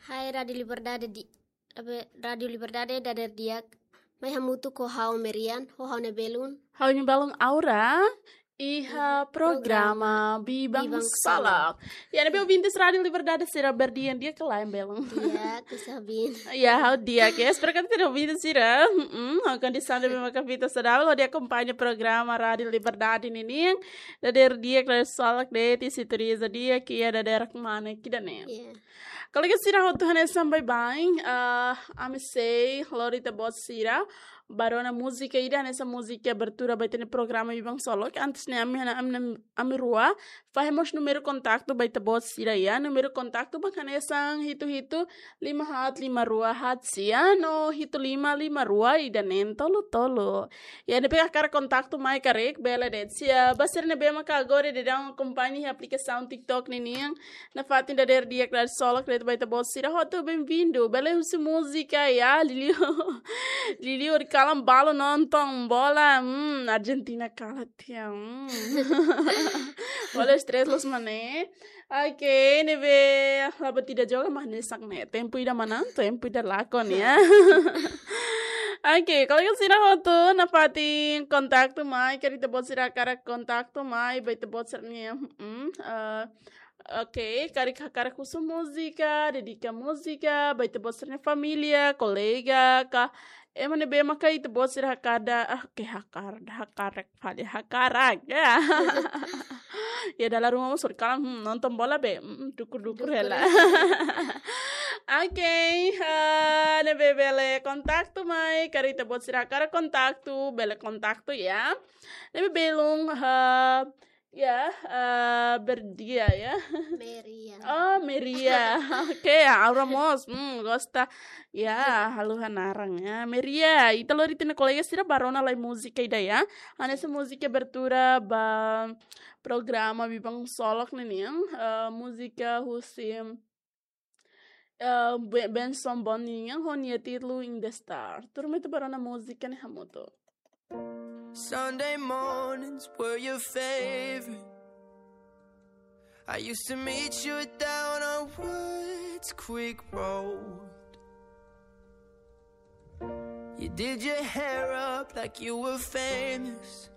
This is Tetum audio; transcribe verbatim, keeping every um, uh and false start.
Hai Rádio Liberdade di, abe, Rádio Liberdade dader di'ak. Mai hamutuk ho ha'u Merian, ho ha'u-nia belun. Ha'u-nia belun Aura, iha programa Bibang Salak. Ya, ne'ebé ouvintes Rádio Liberdade sira, berdi'ak di'ak ka lae, belun? Di'ak, kusabin. Ya, ha'u di'ak, espero katak ita-nia ouvintes sira. Mm, ha'u kondisaun ne'ebé maka fita saudavel, hodi akompaña programa Rádio Liberdade ninian. Dader di'ak, dader salak de'it, sintonia di'ak, iha dadeer-manas ida-ne'e. Ya. Kolega sira hotu, hanesan baibain, ah, ami sei lori ita-boot sira ba rona múzika ida, hanesan múzika abertura ba ita-nia programa Bibang Salak. Antes ne'e ami, ami, ami rua fahe mós númeru kontaktu ba ita-boot sira, ya. Númeru kontaktu mak hanesan hitu hitu lima haat lima rua haat sia no hitu lima lima rua ida neen tolu tolu. Ya, ne'ebé hakarak kontaktu mai karik, bele de'it. Sira, ba sira ne'ebé maka agora daudaun akompaña iha aplikasaun TikTok ninian, nafatin dader di'ak, dader salak de'it ba ita-boot sira hotu, benvindu. Bele husu múzika, ya, liuliu. Liuliu hodi kalan balu nonton bola, hmm, Argentina kalan tiha, hmm. Bola stress loos mak ne'e. Oke, ne'ebé, la'ós ida joga, mas ne'e sak ne'e. Tempu ida manán, tempu ida lakon, ya. Oke, kolega sira hotu, nafatin kontaktu mai, karik ita-boot sira hakarak kontaktu mai ba ita-boot sira-nia, hmm, eh, oke, karik hakarak husu múzika, dedika múzika ba ita-boot sira-nia família, kolega, ka ema ne'ebé maka ita-boot sira hakarak, ah, ke hakar, hakarak, fali hakarak, ya. Ya, dala ruma mós hodi kalan, hmm, nonton bola be, hmm, dukur-dukur hela. Oke, ah, ne'ebé bele kontaktu mai, karik ita-boot sira hakarak kontaktu, bele kontaktu, ya. Ne'ebé belun, ah, ya, ah, berdi'ak, ya. Merian. Oh, Merian. Oke, ya, Aura mós, hmm, gosta. Ya, haluha naran, ya. Merian, ita lori ita-nia kolega sira ba rona lai múzika ida, ya. Hanesan múzika abertura ba programa Bibang Salak ninian, eh, múzika husi, eh, Be-, Benson Bonin nian ho nia títulu In the Star. Tuur mai ita ba rona múzika ne'e hamutuk. Sunday mornings were your favorite. I used to meet you down on Woods Creek Road. You did your hair up like you were famous.